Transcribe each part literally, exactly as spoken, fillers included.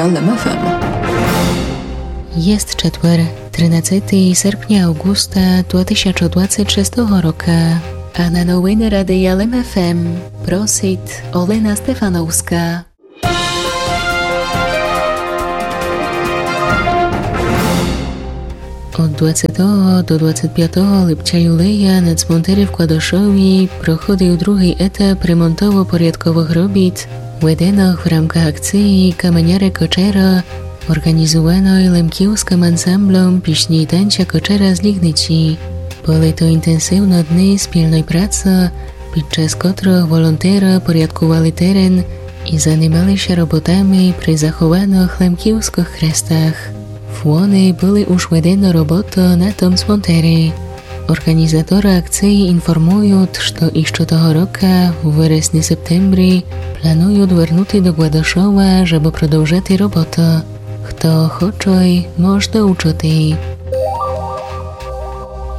Лем ФМ. Єст четвер, тринадцетый серпня авґуста два тисячы двадцет шестого рока. А на новины Радия Лем ФМ просит Олена Стефановска. Од двадцетого до двадцет пятого липця-юлея на цмонтери в Кладышові проходив другый етап ремонтово-порядковых робіт, веденых в рамках акциі Каменяре Кочера, орґанізуваной лемківскым ансамбльом пісні й танця Кочера з Лігниці. Были то інтенсивны дни спільной праці, під час котрых волонтеры порядкували терен і занимали ся роботами при захованых лемківскых хрестах. Вони были уж ведены роботу на том цмонтери. Орґанізаторы акциі інформуют, што іщы того рока, у вересни-септембрі, плануют вернути до Кладышова, жебы продовжати роботу. Хто хоче, мож долучыти.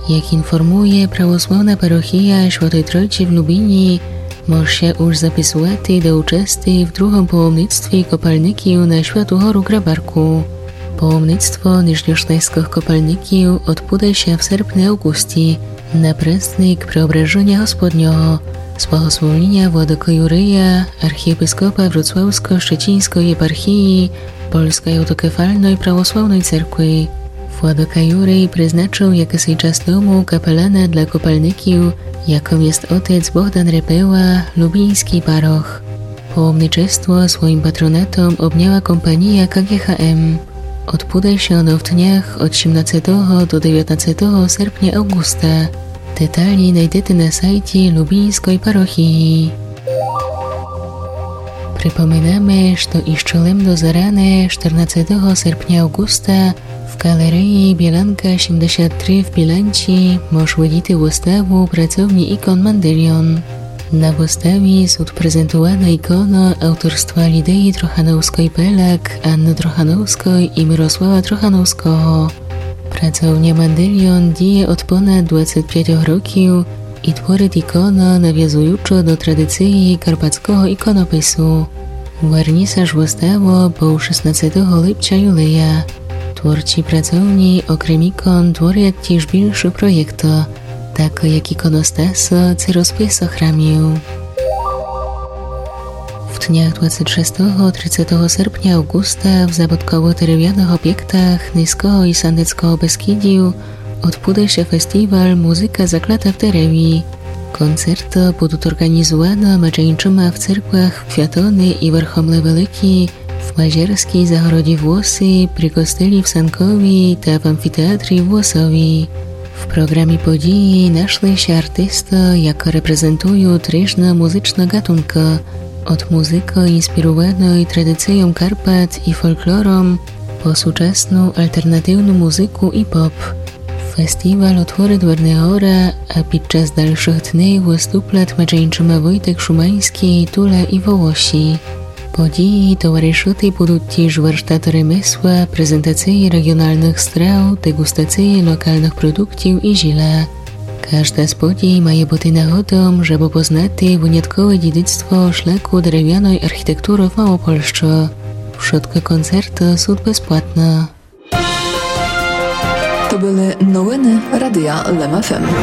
Як інформує православна парохія Святой Тройці в Любіні, мож ся уж записувати до участи в другом паломництві копальників на Святу гору Грабарку. Паломництво нижньошлезькых копальників одбуде ся в серпни-авґусті на праздник Преображеня Господнього з благословеня владыкы Юрия, архієпископа Вроцлавско-Щеціньской єпархії Польской автокефальной православной церкви. Владыка Юрий призначыв якысий час тому капелана для копальників, якым єст отец Богдан Репела, любіньскій парох. Паломничество своім патронатом обняла компанія К Г Х М. Одбуде ся оно в днях од сімнадцетого до девятнадцетого серпня-авґуста. Деталі найдете на сайті Любіньской парохії. Припоминаме, што іщы лем до зарани, штырнадцетого серпня-авґуста, в ґалереї Біланка сімдесят три в Біланці мож видіти выставу «Працовні ікон Мандельйон». На выставі сут презентуваны іконы авторства Лідії Трохановской-Пеляк, Анны Трохановской і Мирослава Трохановского. Працовня Мандельйон діє од понад двадцет пять років і творит іконы, навязуючы до традициі карпатского іконопису. Вернісаж выставы быв шестнадцетого липця-юлея. Творці працовні, окрем ікон, творят тіж більшы проєкты, такы як іконостасы ци розписы храмів. В днях двадцет шестого, тридцетого серпня-авґуста в забудково-деревяных обєктах Низкого і Сандецкого Бескідів одбуде ся фестіваль «Музыка заклята в дереві». Концерты будут орґанізуваны меджі іншыма в церквах в Квятони і Верхомле Великій, в Мазерскій загороді в Лосі, при костелі в Санкові та в амфітеатрі в Лосові. В програмі події нашли ся артисты, якы репрезентуют ріжны музычны ґатункы, од музыкы, інспіруваной традицийом Карпат і фолклором, по сучасну алтернативну музыку і поп. Фестіваль отворит Вернегора, а під час дальшых днів выступлят меджі іншыма Войтек Шуманьскій, Туля і Волосі. Події товаришыти будут тіж варштаты ремесла, презентациі реґіоналных страв, деґустациі локалных продуктів і зіля. Кажда з подій має быти нагодом, жебы познати выняткове дідицтво шлаку деревяной архітектуры в Малопольщы. Вшыткы концерты сут безплатны. То были новины Радия Лем ФМ.